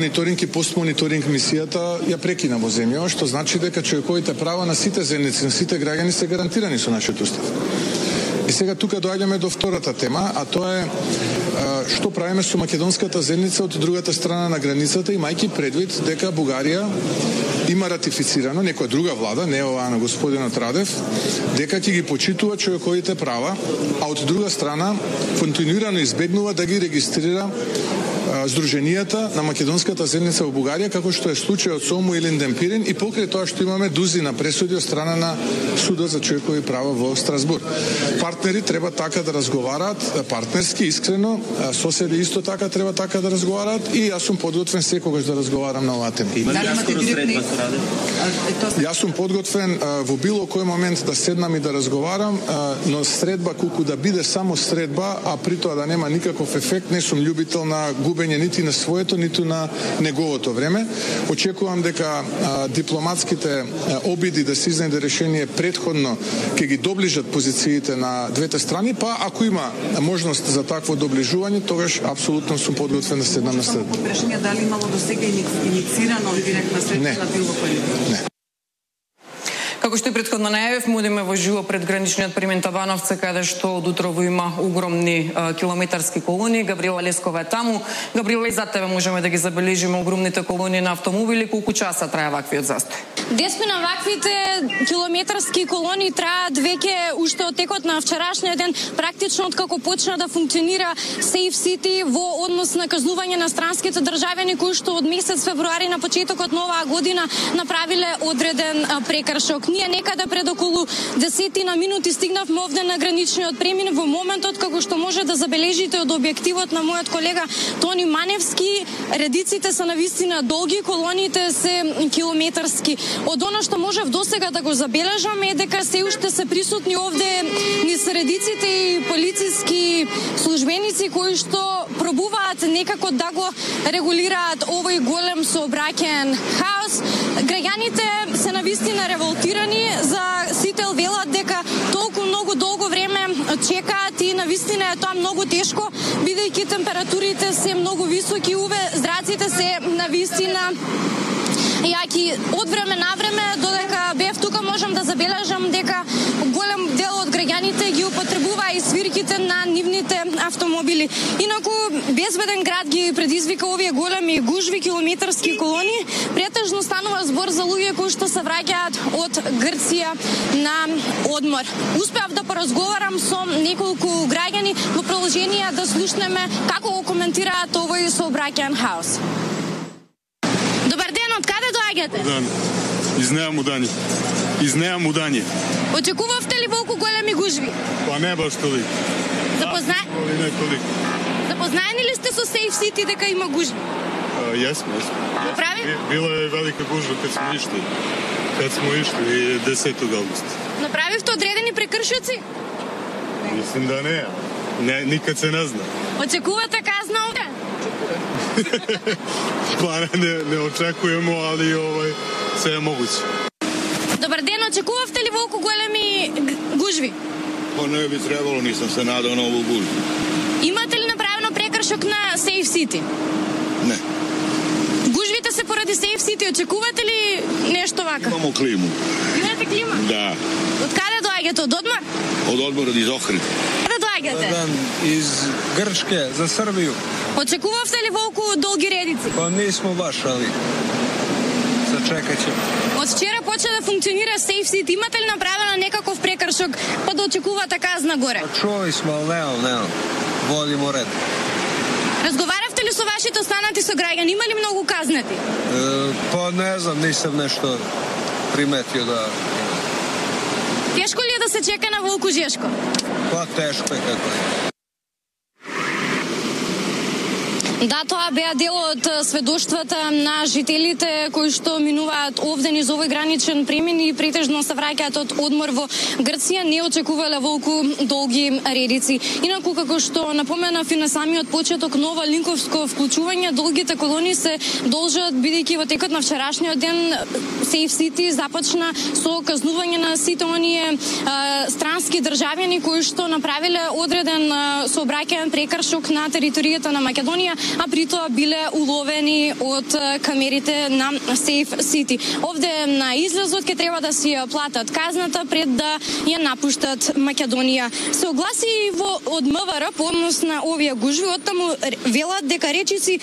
Мониторинг и постмониторинг мисијата ја прекина во земја, што значи дека човековите права на сите земјици, на сите граѓани се гарантирани со нашиот устав. И сега тука доаѓаме до втората тема, а тоа е што правиме со македонската земјица од другата страна на границата, имајќи предвид дека Бугарија има ратифицирано, некоја друга влада, не оваа на господинот Радев, дека ќе ги почитува човековите права, а од друга страна континуирано избегнува да ги регистрира здруженијата на македонската земјица во Бугарија, како што е случајот со Ому Илин Демпирин, и покрај тоа што имаме дузина пресуди од страна на Судот за човекови права во Страсбург. Партнери треба така да разговараат, партнерски, искрено, соседи исто така треба така да разговараат, и јас сум подготвен секогаш да разговарам на оваа тема. Јас сум подготвен во било кој момент да седнам и да разговарам, но средба колку да биде само средба, а при тоа да нема никаков ефект, не сум љубител на губење нити на своето, ниту на неговото време. Очекувам дека дипломатските обиди да се изнајде решение предходно ќе ги доближат позициите на двете страни, па ако има можност за такво доближување, тогаш апсолутно сум подготвен да седнам на средба. Прашање дали имало досега инициирано директна средба на било кој? Не. Како што и претходно најавив, мудиме во живо пред граничниот премин Табановце, каде што од утрово има огромни километарски колони. Габриела Лескова е таму. Габриела, и за тебе можеме да ги забележиме огромните колони на автомобили. Колку часа трае ваквиот застој? Деспина, ваквите километарски колони траат веќе уште од текот на вчерашниот ден, практично откако почна да функционира Safe City во однос на казнување на странските државјани кои што од месец февруари на почетокот на оваа година направиле одреден прекршок. Ние некаде пред околу 10 минути стигнавме овде на граничниот премин во моментот како што може да забележите од објективот на мојот колега Тони Маневски. Редиците се навистина долги, колоните се километарски. Од она што можев досега да го забележам е дека се уште се присутни овде низ редиците и полициски службеници кои што пробуваат некако да го регулираат овој голем сообраќаен хаос. Граѓаните се навистина револтирани, за сите велат дека толку многу долго време чекаат и навистина е тоа многу тешко, бидејќи температурите се многу високи, зраците се навистина јаки. Од време на време, додека бев тука, можам да забележам дека голем дел од граѓаните ги употребува и свирките на нивните автомобили. Инаку, безбеден град ги предизвика овие големи гужви, километарски колони. Претежно станува збор за луѓе кои што се враќаат од Грција на одмор. Успеав да поразговарам со неколку граѓани во продолжение да слушнеме како го коментираат овој сообраќаен хаос. Добар ден, од каде доаѓате? Дан. Из Неа Мудање. Очекувавте ли волку големи гужви? Па не баш толик. Запознаени ли сте со Safe City дека има гужви? Јесме. Го прави? Била е велика гужва кад смо ишли 10 август. Направивте одредени прекршоци? Мислим да не. Никад се не зна. Очекувате казна овде? Па не очекуваме, али се е могуќе. Добар ден, очекувавте ли волку големи гужви? Па не би требало, нисам се надал на ову гужви. Имате ли направено прекршок на Safe City? Не. Гужвите се поради Safe City, очекувате ли нешто вака? Имамо климу. Имате клима? Да. Од каде доаѓате? Од одмор? Од одморот из Охрид. Каде доаѓате? Из Грчке за Србију. Очекувавте ли волку долги редици? Па нисмо баш, али зачекаće. Од вчера почна да функционира Safe City. Имате ли направено некаков прекршок па да очекувате казна горе? Чули смо, ал немам. Водимо ред. Разговаравте ли со вашите останати сограѓани? Има ли многу казнати? Па не знам, нисам нешто приметио да... Тешко ли е да се чека на волку Жешко? Па тешко е како е. Да, тоа беа дел од сведоштвата на жителите кои што минуваат овде низ овој граничен премин и претежно се враќаат од одмор во Грција, не очекувале волку долги редици. Инаку, како што напоменав и на самиот почеток, нова линковско вклучување, долгите колони се должат, бидејќи во текот на вчерашниот ден Safe City започна со казнување на сите оние странски државјани кои што направиле одреден сообраќаен прекршок на територијата на Македонија. а при тоа биле уловени од камерите на Safe City. Овде на излезот ќе треба да си ја платат казната пред да ја напуштат Македонија. Се огласи од МВР по однос на овие гужви, оттаму велат дека речици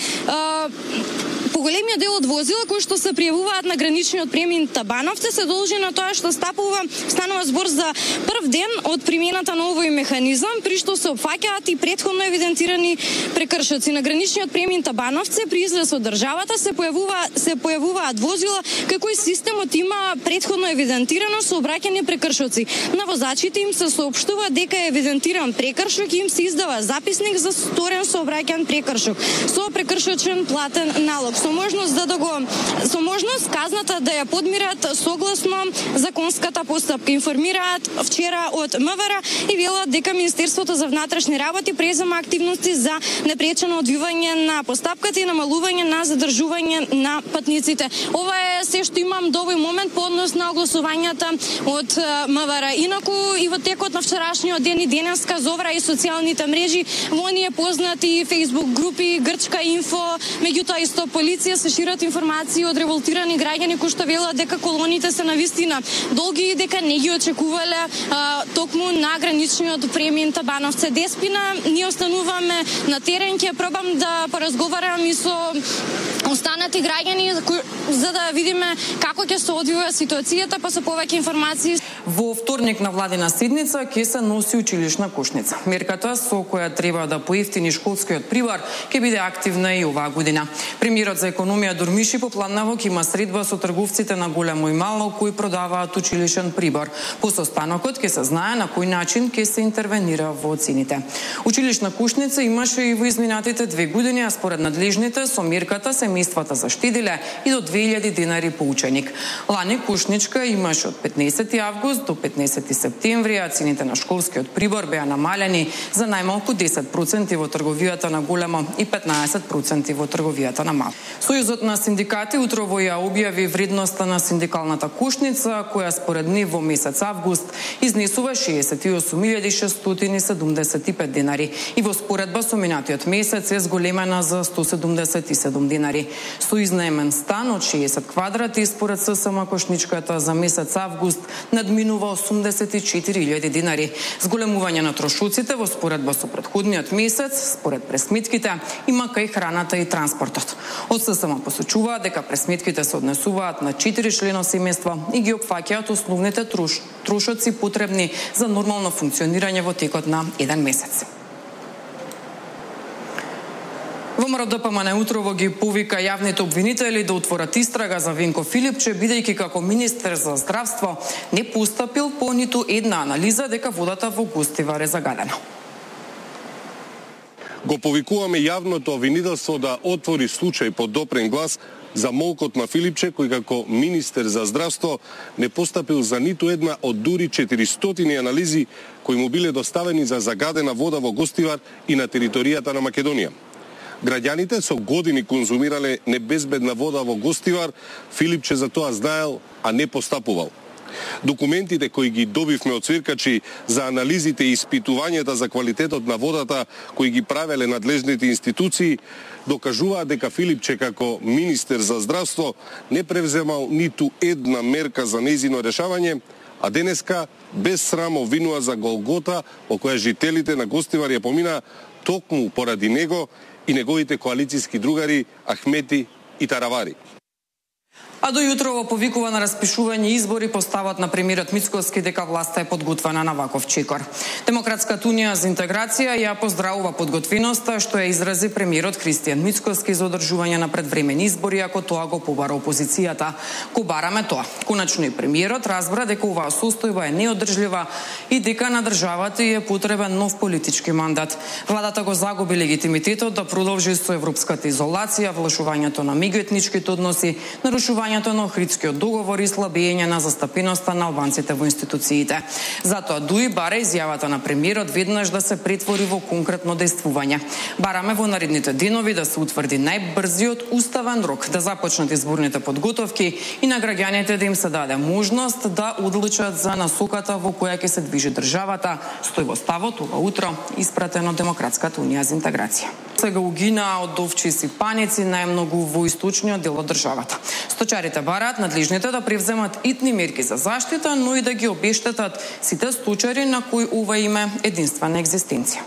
поголемиот дел од возила кои што се пријавуваат на граничниот премин Табановци се должи на тоа што станува збор за прв ден од примената на овој механизам, при што се опфаќаат и претходно евидентирани прекршоци. На граничниот премин Табановци при излез од државата се појавуваат возила кај кои системот има претходно евидентирано сообраќајни прекршоци. На возачите им се соопштува дека е евидентиран прекршок и им се издава записник за сторен сообраќаен прекршок со прекршочен платен налог. Со можност казната да ја подмират согласно законската постапка. Информираат вчера од МВР и велат дека Министерството за внатрешни работи презема активности за непречено одвивање на постапката и намалување на задржување на патниците. Ова е се што имам до овој момент по однос на огласувањата од МВР. Инаку и во текот на вчерашниот ден и денеска зовра и социјалните мрежи во оние познати Facebook групи Грчка инфо, меѓутоа исто полиција се шират информации од револтирани граѓани кои што велат дека колоните се навистина долги и дека не ги очекувале токму на граничниот премин Табановци. Деспина ние остануваме на терен, ќе пробам да поразговарам и со останати граѓани за да видиме како ќе се одвива ситуацијата, па со повеќе информации. Во вторник на владина седница ќе се носи училишна кошница. Мерката со која треба да поевтини школскиот прибор ќе биде активна и оваа година. Премиерот за економија Дурмиши попладнава ќе има средба со трговците на големо и мало кои продаваат училишен прибор. По состанокот ќе се знае на кој начин ќе се интервенира во цените. Училишна кошница имаше и во изминатите 2 години, а според надлежните со мерката семејствата заштедиле и до 2000 денари по ученик. Лани кошничка имаше од 15 август до 15 септември, а цените на школскиот прибор беа намалени за најмалку 10% во трговијата на големо и 15% во трговијата на мало. Сојузот на синдикати утрово ја објави вредноста на синдикалната кошница, која според нив во месец август изнесува 68.675 денари и во споредба со минатиот месец е зголемена за 177 денари. Со изнаемен стан од 60 квадрати според ССМ кошничката за месец август надминува 84.000 денари. Зголемување на трошоците во споредба со претходниот месец, според пресметките, има кај храната и транспортот. Од ССМ посочува дека пресметките се однесуваат на 4-члено семејство и ги опфаќаат основните трошоци потребни за нормално функционирање во текот на еден месец. ВМРО ДПМН утрово ги повика јавните обвинители да отворат истрага за Венко Филипче, бидејќи како министер за здравство не постапил по ниту една анализа дека водата во Гостивар е загадена. Го повикуваме јавното обвинителство да отвори случај под допрен глас за молкот на Филипче, кој како министер за здравство не постапил за ниту една од дури 400 анализи кои му биле доставени за загадена вода во Гостивар и на територијата на Македонија. Граѓаните со години конзумирале небезбедна вода во Гостивар, Филипче за тоа знаел, а не постапувал. Документите кои ги добивме од цвиркачи за анализите и испитувањата за квалитетот на водата кои ги правеле надлежните институции докажуваат дека Филипче како министер за здравство не превземал ниту една мерка за нејзино решавање, а денеска без срам обвинува за голгота во која жителите на Гостивар ја помина токму поради него и неговите коалициски другари Ахмети и Таравари. А до јутрово повикува на распишување избори по ставот на премиерот Мицкоски дека власта е подготвена на ваков чекор. Демократската унија за интеграција ја поздравува подготвеноста што ја изрази премиерот Христијан Мицкоски за одржување на предвремени избори, ако тоа го побара опозицијата. Ко бараме тоа. Конечно и премиерот разбра дека оваа состојба е неодржлива и дека на државата е потребен нов политички мандат. Владата го загуби легитимитетот да продолжи со европската изолација, влошувањето на меѓуетничките односи, нарушувањето на Охридскиот договор и слабење на застапеноста на албанците во институциите. Затоа ДУИ бара изјавата на премиерот веднаш да се претвори во конкретно дејствување. Бараме во наредните денови да се утврди најбрзиот уставен рок да започнат изборните подготовки и на граѓаните да им се даде можност да одлучат за насоката во која ќе се движи државата, стои во ставот ова утро испратено Демократската унија за интеграција. Сега угина од овчи и сипаници најмногу во источниот дел од државата. Сточарите бараат надлежните да превземат итни мерки за заштита, но и да ги обештетат сите сточари на кои ова име единствена екзистенција.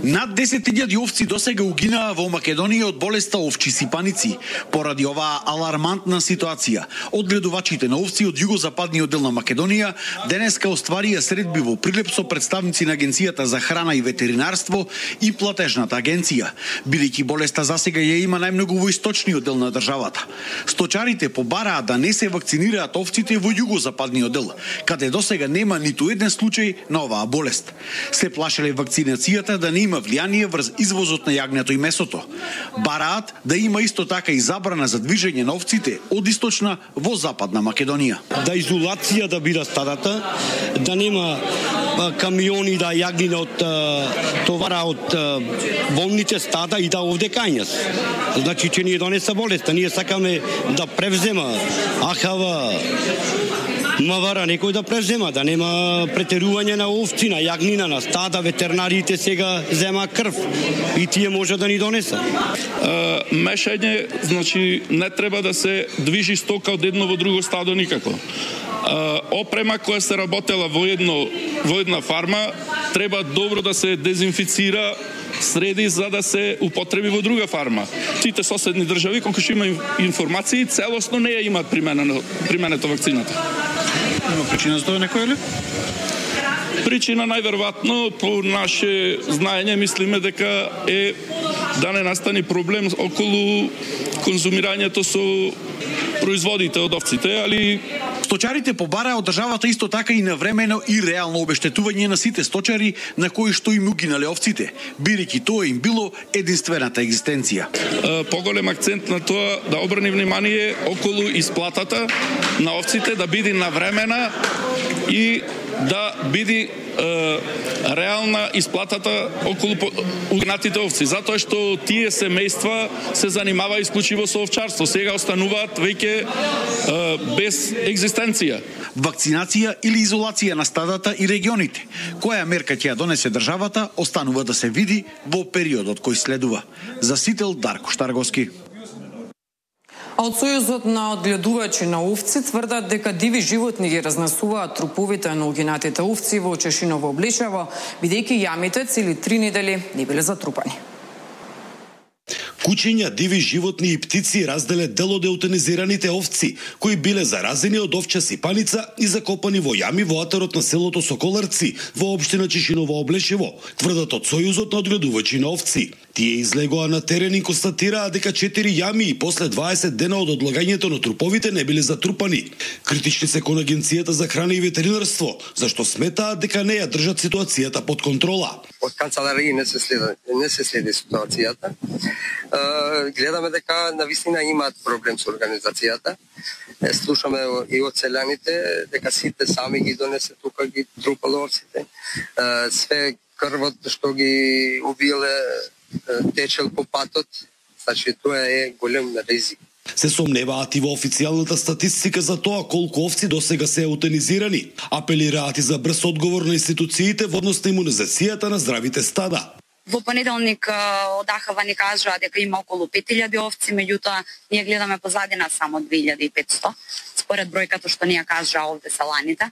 Над 10.000 овци досега угинаа во Македонија од болеста овчи сипаници. Поради оваа алармантна ситуација, одгледувачите на овци од југозападниот дел на Македонија денеска остварија средби во Прилеп со представници на Агенцијата за храна и ветеринарство и платежната агенција, бидејќи болеста засега ја има најмногу во источниот дел на државата. Сточарите побараа да не се вакцинираат овците во југозападниот дел, каде досега нема ниту еден случај на оваа болест. Се плашеле вакцинацијата да не има влијание врз извозот на јагнето и месото. Бараат да има исто така и забрана за движење на овците од источна во западна Македонија. Да изолација да бира стадата, да нема камиони да јагнина од товара од волните стада и да овде кањас. Значи че ние донеса болеста, ние сакаме да превзема АХВ, МВР некој да превзема, да нема претерување на овци, на јагнина, на стада, ветеринарите сега зема крв и тие може да ни донеса. Мешање, значи не треба да се движи стока од едно во друго стадо никако. Опрема која се работела во една фарма треба добро да се дезинфицира, среди за да се употреби во друга фарма. Сите соседни држави колку што има информации целосно не ја имаат применето вакцината. Има причина за тоа некоја ли? Причина најверојатно по наше знаење мислиме дека е да не настани проблем околу конзумирањето со производите од овците, али сточарите побараа од државата исто така и навремено и реално обештетување на сите сточари на кои што им угинале овците, бидејќи тоа им било единствената екзистенција. Поголем акцент на тоа да обрани внимание околу исплатата на овците, да биде навремена и да биде реална исплатата околу угнатите овци, затоа што тие семејства се занимава исклучиво со овчарство, сега остануваат веќе без екзистенција. Вакцинација или изолација на стадата и регионите. Која мерка ќе ја донесе државата, останува да се види во периодот кој следува. За Сител Дарко Штарговски. А од Сојузот на одгледувачи на овци тврдат дека диви животни ги разнесуваат труповите на угинатите овци во Чешиново Обличево, бидејќи јамите цели 3 недели не биле затрупани. Кучиња, диви животни и птици разделе дел од еутанизираните овци, кои биле заразени од овча сипаница и закопани во јами во атарот на селото Соколарци, во општина Чешиново Облешево, тврдат од Сојузот на одгледувачи на овци. Тие излегоа на терен и констатираа дека 4 јами и после 20 дена од одлагањето на труповите не биле затрупани. Критични се кон Агенцијата за храна и ветеринарство, зашто сметаат дека не ја држат ситуацијата под контрола. Од канцеларија не се следи ситуацијата. Гледаме дека навистина имаат проблем со организацијата. Слушаме и од селјаните дека сите сами ги донесе тука ги трупале овците. Све крвот што ги убиле течел по патот, значи тоа е голем ризик. Се сомневаат и во официјалната статистика за тоа колку овци досега се еутанизирани. Апелираат и за брз одговор на институциите во однос на имунизацијата на здравите стада. Во понеделник од АХВ ни кажаа дека има околу 5000 овци, меѓутоа ние гледаме позадина само 2500, според бројката што ни ја кажаа овде селаните.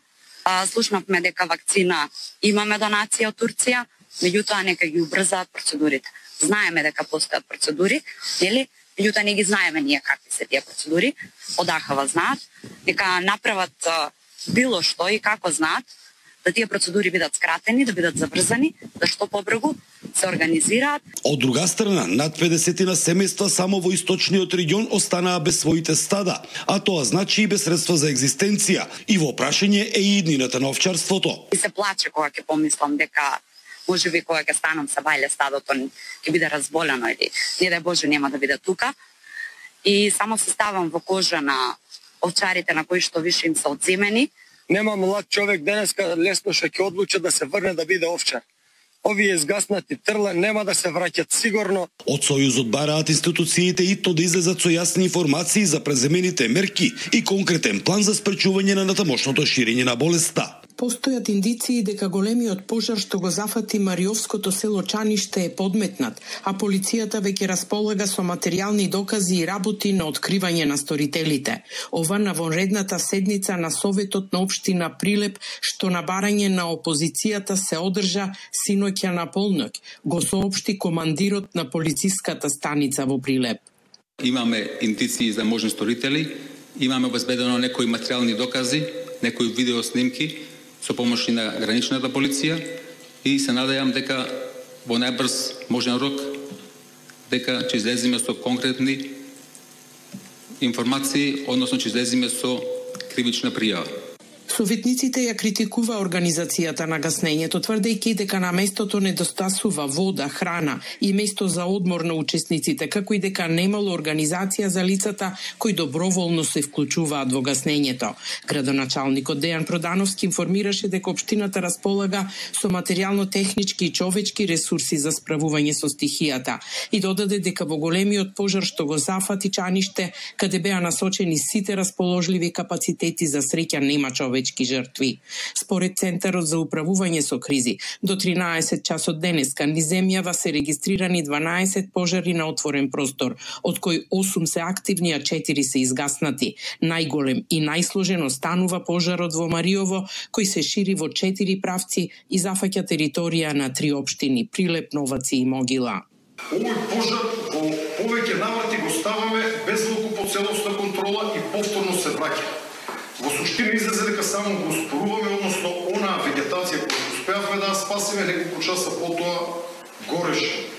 Слушнавме дека вакцина имаме донација од Турција, меѓутоа нека ги убрзаат процедурите. Знаеме дека постојат процедури, нели? Меѓутоа не ги знаеме ние какви се тие процедури. Од АХВ знаат, нека направат било што и како знаат, да тие процедури бидат скратени, да бидат заврзани, да што побрзо се организираат. Од друга страна, над 50 семејства само во источниот регион останаа без своите стада, а тоа значи и без средства за екзистенција и во прашање е и иднината на овчарството. И се плаче кога ќе помислам дека можеби кога ќе станам се бајле стадото ќе биде разболено или не дај Боже нема да биде тука. И само се ставам во кожа на овчарите на кои што више им се одземени. Нема млад човек денеска лесно што ќе одлучи да се врне да биде овчар. Овие изгаснати трла нема да се враќат сигурно. Од Сојузот бараат институциите итно да излезат со јасни информации за преземените мерки и конкретен план за спречување на натамошното ширење на болеста. Постојат индиции дека големиот пожар што го зафати Мариовското село Чаниште е подметнат, а полицијата веќе располага со материјални докази и работи на откривање на сторителите. Ова на вонредната седница на Советот на општина Прилеп, што на барање на опозицијата се одржа синоќа на полноќ, го соопшти командирот на полициската станица во Прилеп. Имаме индиции за можни сторители, имаме обезбедено некои материјални докази, некои видеоснимки со помош на граничната полиција и се надејам дека во најбрз можен рок дека ќе излеземе со конкретни информации, односно ќе излеземе со кривична пријава. Советниците ја критикува организацијата на гаснењето, тврдејќи дека на местото недостасува вода, храна и место за одмор на учесниците, како и дека немало организација за лицата кои доброволно се вклучуваат во гаснењето. Градоначалникот Дејан Продановски информираше дека општината располага со материјално-технички и човечки ресурси за справување со стихијата и додаде дека во големиот пожар што го зафати Чаниште, каде беа насочени сите расположливи капацитети, за среќа нема човечки жртви. Според Центарот за управување со кризи, до 13 часот денеска низ земјава се регистрирани 12 пожари на отворен простор, од кои 8 се активни, а 4 се изгаснати. Најголем и најсложен останува пожарот во Мариово, кој се шири во 4 правци и зафаќа територија на 3 општини: Прилеп, Новаци и Могила. Овој пожар во повеќе наврати го ставаме без по целосна контрола и повторно се враќа. Во суштина излезе дека само го споруваме, односно онаа вегетација која успеавме да ја спасиме, неколку часа потоа гореше.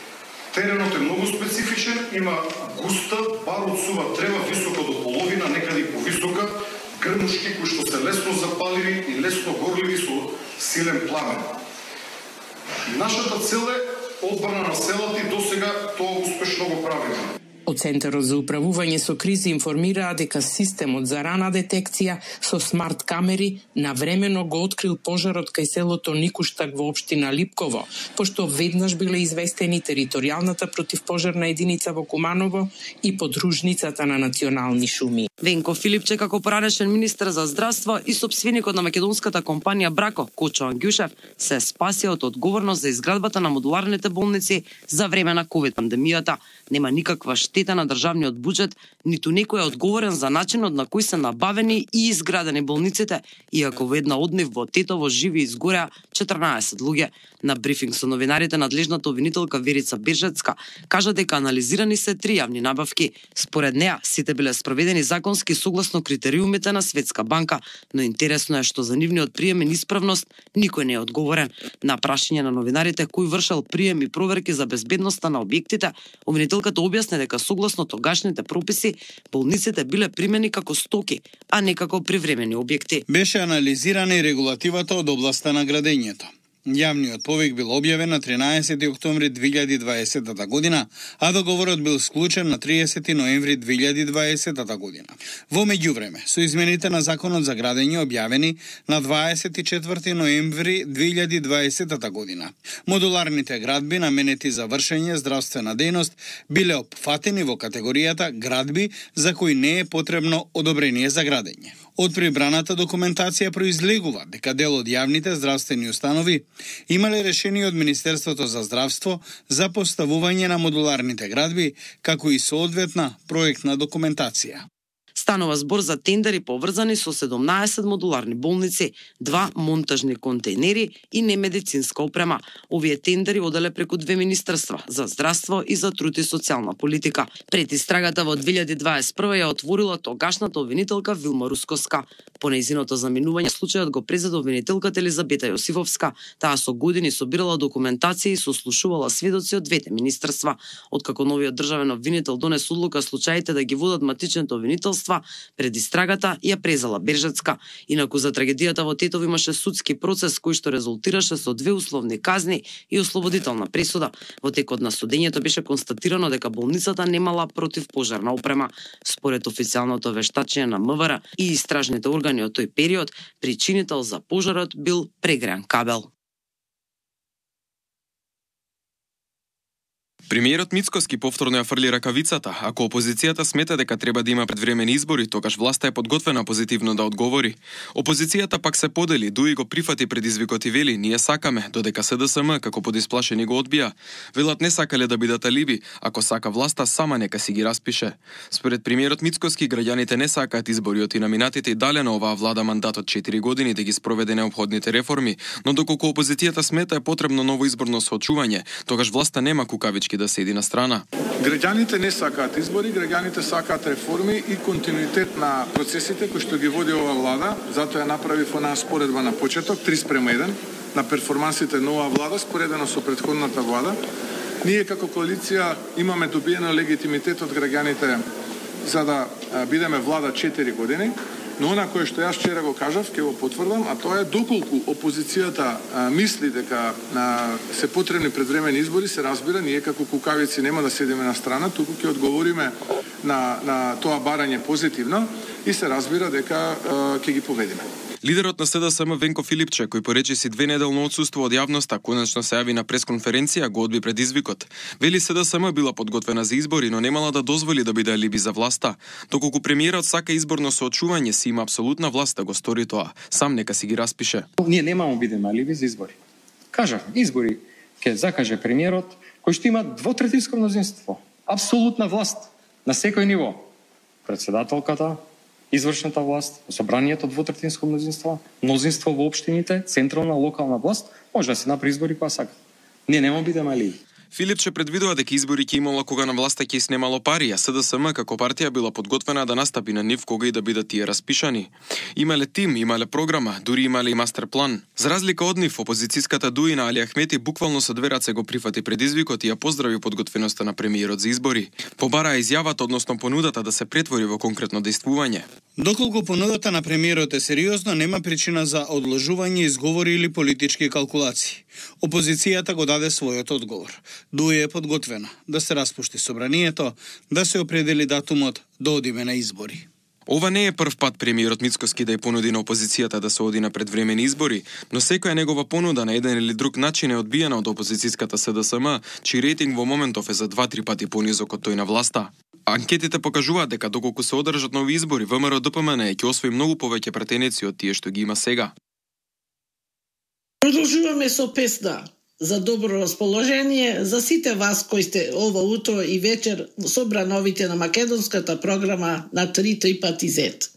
Теренот е многу специфичен, има густа, бар од сува трева, висока до половина, некаде и повисока, грмушки кои што се лесно запаливи и лесно горливи со силен пламен. Нашата цел е одбрана на селата и досега тоа успешно го правиме. Од Центарот за управување со кризи информираа дека системот за рана детекција со смарт камери навремено го открил пожарот кај селото Никуштак во општина Липково, пошто веднаш биле известени територијалната противпожарна единица во Куманово и подружницата на национални шуми. Венко Филипче, како поранешен министер за здравство и сопственикот на македонската компанија Брако, Кочо Ангјушев, се спасија од одговорност за изградбата на модуларните болници за време на ковид пандемијата. Нема никаква штета на државниот буџет, ниту некој е одговорен за начинот на кој се набавени и изградени болниците, иако во една од нив во Тетово живи и изгореа 14 луѓе. На брифинг со новинарите надлежната обвинителка Верица Бержецка кажа дека анализирани се 3 јавни набавки. Според неа, сите биле спроведени законски согласно критериумите на Светска банка, но интересно е што за нивниот прием и исправност никој не е одговорен. На прашање на новинарите кој вршел прием и проверки за безбедноста на објектите, обвинителката објасни дека согласно тогашните прописи, болниците биле примени како стоки, а не како привремени објекти. Беше анализирана и регулативата од областа на градењето. Јавниот повик бил објавен на 13 октомври 2020 година, а договорот бил склучен на 30 ноември 2020 година. Во меѓувреме, со измените на Законот за градење објавени на 24 ноември 2020 година, модуларните градби наменети за вршење здравствена дејност биле опфатени во категоријата градби за кои не е потребно одобрение за градење. Од прибраната документација произлегува дека дел од јавните здравствени установи имале решение од Министерството за здравство за поставување на модуларните градби, како и соодветна проектна документација. Станува збор за тендери поврзани со 17 модуларни болници, 2 монтажни контейнери и немедицинска опрема. Овие тендери оделе преку 2 министерства, за здравство и за труд и социјална политика. Пред истрагата во 2021 ја отворила тогашната обвинителка Вилма Рускоска. По нејзиното заминување случајот го презеде обвинителката Елизабета Јосифовска. Таа со години собирала документација и сослушувала сведоци од двете министерства. Откако новиот државен обвинител донес одлука случаите да ги водат матичните обвинителства, пред истрагата ја презала Бержецка. Инаку за трагедијата во Тетово имаше судски процес кој што резултираше со 2 условни казни и ослободителна пресуда. Во текот на судењето беше констатирано дека болницата немала противпожарна опрема. Според официјалното вештачење на МВР и истражните органи од тој период, причинител за пожарот бил прегреан кабел. Премиерот Мицкоски повторно ја фрли ракавицата. Ако опозицијата смета дека треба да има предвремени избори, тогаш власта е подготвена позитивно да одговори. Опозицијата пак се подели, Дуи го прифати предизвикот и вели: "Ние сакаме", додека СДСМ како подисплашени го одбија. Велат не сакале да бидат алиби, ако сака власта сама нека си ги распише. Според премиерот Мицкоски, граѓаните не сакаат избори и номинатите и дале на оваа влада мандатот 4 години да ги спроведе неопходните реформи, но доколку опозицијата смета е потребно ново изборно соочување, тогаш власта нема кукавички да седи на страна. Граѓаните не сакаат избори, граѓаните сакаат реформи и континуитет на процесите кои што ги води оваа влада. Затоа ја направив онаа споредба на почеток 3:1 на перформансите на оваа влада споредено со претходната влада. Ние како коалиција имаме добиено легитимитет од граѓаните за да бидеме влада 4 години. Но она кое што јас вчера го кажав, ќе го потврдам, а тоа е доколку опозицијата мисли дека се потребни предвремени избори, се разбира, ние како кукавици нема да седиме на страна, туку ќе одговориме на тоа барање позитивно и се разбира дека ќе ги победиме. Лидерот на СДСМ Венко Филипче, кој поречиси 2 неделно отсуство од јавноста, конечно се јави на пресконференција, го одби предизвикот. Вели СДСМ била подготвена за избори, но немала да дозволи да биде алиби за власта. Доколку премиерот сака изборно соочување, си има апсолутна власт да го стори тоа. Сам нека си ги распише. Ние немамо бидеме алиби за избори. Кажав, избори ќе закаже премиерот, кој што има двотретинско мнозинство. Апсолутна власт на секој ниво. Председателката, извршната власт, собранието двотретинско мнозинство во општините, централна, локална власт, може да се направи избори кога сака. Ние нема бидеме алиби. Филипче предвидува дека избори ќе имало кога на власта ќе снемало пари, а СДСМ како партија била подготвена да настапи на нив кога и да бидат тие распишани. Имале тим, имале програма, дури имале и мастер план. За разлика од нив, опозицијската Дуи на Али Ахмети буквално со 2 раце го прифати предизвикот и ја поздрави подготвеноста на премиерот за избори. Побараа изјавата, односно понудата да се претвори во конкретно дејствување. Доколку понудата на премиерот е сериозно, нема причина за одложување, изговори или политички калкулации. Опозицијата го даде својот одговор. Дуи е подготвена да се распушти собранието, да се определи датумот да одиме на избори. Ова не е прв пат премиерот Мицкоски да ја понуди на опозицијата да се оди на предвремени избори, но секоја негова понуда на еден или друг начин е одбиена од опозицијската СДСМ, чиј рейтинг во моментов е за 2-3 пати понизок од тој на власта. Анкетите покажуваат дека доколку се одржат нови избори, ВМРО-ДПМН ќе освои многу повеќе пратеници од тие што ги има сега. Продолжуваме со песна за добро расположение за сите вас кои сте ова утро и вечер собра новите на македонската програма на 3 пати Z.